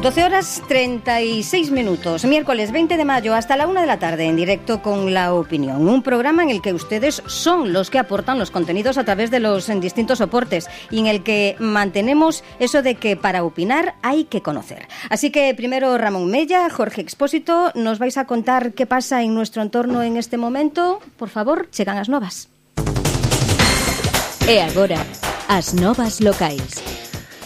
12 horas 36 minutos, miércoles 20 de mayo hasta la 1 de la tarde, en directo con La Opinión, un programa en el que ustedes son los que aportan los contenidos a través de los distintos soportes y en el que mantenemos eso de que para opinar hay que conocer. Así que primero Ramón Mella, Jorge Expósito, nos vais a contar qué pasa en nuestro entorno en este momento. Por favor, chegan as novas. E agora, as novas locais.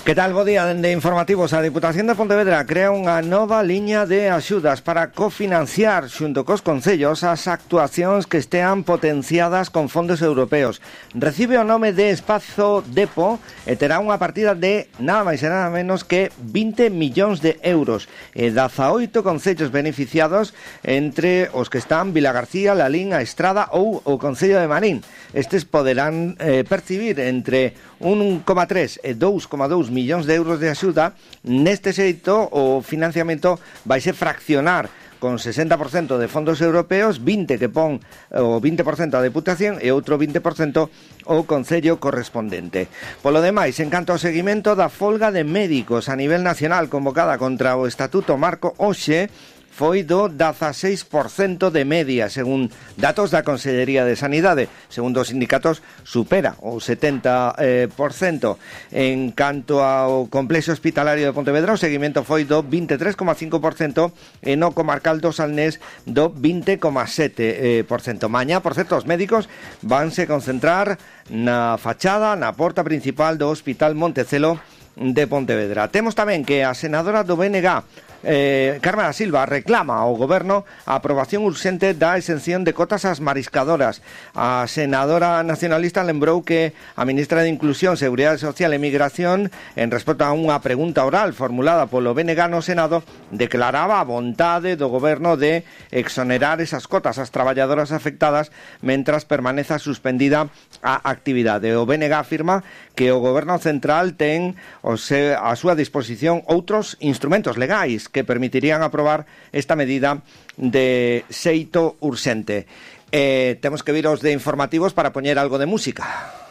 Que tal, bo día, dende Informativos. A Diputación de Pontevedra crea unha nova liña de axudas para cofinanciar xunto cos concellos as actuacións que estean potenciadas con fondos europeos. Recibe o nome de Espazo Depo e terá unha partida de nada máis e nada menos que 20 millóns de euros. E 18 concellos beneficiados, entre os que están Vilagarcía, Lalín, a Estrada ou o Concello de Marín. Estes poderán percibir entre 1,3 e 2,2 millóns de euros de axuda. Neste xeito, o financiamento vaise fraccionar con 60% de fondos europeos, 20% que pon o 20% a Deputación e outro 20% o Concello correspondente. Polo demais, en canto ao seguimento da folga de médicos a nivel nacional convocada contra o Estatuto Marco hoxe, foi do 16% de media, según datos da Consellería de Sanidade. Segundo os sindicatos, supera o 70%. En canto ao complexo hospitalario de Pontevedra, o seguimento foi do 23,5% e no comarcal do Salnés do 20,7%. Mañá, por certo, os médicos vanse concentrar na fachada, na porta principal do Hospital Montecelo de Pontevedra. Temos tamén que a senadora do BNG, Carmen da Silva, reclama ao Goberno a aprobación urxente da exención de cotas ás mariscadoras. A senadora nacionalista lembrou que a ministra de Inclusión, Seguridade Social e Migración, en resposta a unha pregunta oral formulada polo BNG no Senado, declaraba a vontade do Goberno de exonerar esas cotas ás traballadoras afectadas mentras permaneza suspendida a actividade. O BNG afirma que o Goberno Central ten a súa disposición outros instrumentos legais que permitirían aprobar esta medida de xeito urxente. Temos que vir aos de Informativos para poñer algo de música.